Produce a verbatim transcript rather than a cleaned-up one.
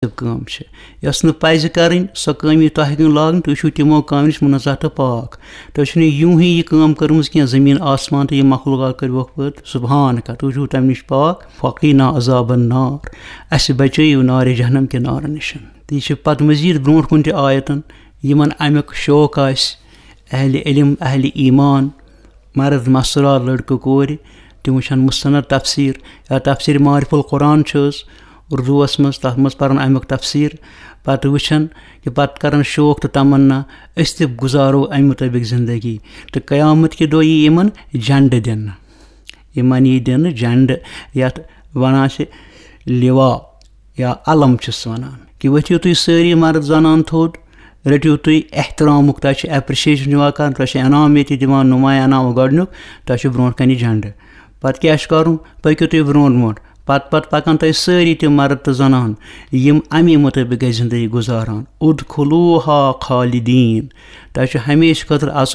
کٲم چھِ، یۄس نہٕ پَزِ کَرٕنۍ، سۄ کٲم یی تۄہہِ کُن لاگنہٕ، تُہۍ چھِو تِمو کامٮ۪و نِش مُنزہ تہٕ پاک۔ تۄہہِ چھُو نہٕ یوٗہٕے یہِ کٲم کٔرمٕژ کینٛہہ، زٔمیٖن آسمان تہٕ یہِ مخلوقات کٔرِوکھ پٲدٕ، سبحانک، تُہۍ چھِو تَمہِ نِش پاک، فقینا عذاب النار، اَسہِ بچٲیِو نارِ جہنم کہِ نارٕ نِش۔ تہٕ یہِ چھِ پَتہٕ مزیٖد برونٛٹھ کُن تہِ آیتَن، یِمَن اَمیُک شوق آسہِ، اہلِ علم، اہلِ ایمان، مرد مستورات لڑکہٕ کورِ، تِم وٕچھن مستند تفسیر یا تفسیر معرف القرآن چھِ حظ اردوس منٛز، تَتھ منٛز پرن اَمیُک تفسیر، پتہٕ وٕچھن کہِ پتہٕ کرن شوق تہٕ تمنا أسۍ تہِ گُزارو اَمہِ مُطٲبِق زندگی۔ تہٕ قیامت کہِ دۄہ یی یِمن جنڈٕ دِنہٕ، یِمن یی دِنہٕ جنڈٕ، یَتھ وَنان چھِ لِوا یا علم چھِس وَنان، کہِ ؤتھِو تُہۍ سٲری مرد زنان تھوٚد، رٔٹِو تُہۍ احترامُک، تۄہہِ چھِ appreciation یِوان کرنہٕ، تۄہہِ چھِ انعام ییٚتہِ دِوان، نُمایاں انعام گۄڈٕنیُک، تۄہہِ چھُ برونٛٹھ کنہِ جنڈٕ۔ پتہٕ کیٛاہ چھُ کرُن؟ پٔکِو تُہۍ برونٛٹھ برونٛٹھ۔ پتہٕ پتہٕ پکن تۄہہِ سٲری تِم مرد تہٕ زنان، یِم امی مُطٲبِق گژھِ زندگی گُزاران۔ ادخلوها خالدین، تۄہہِ چھُ ہمیشہٕ خٲطرٕ اژُن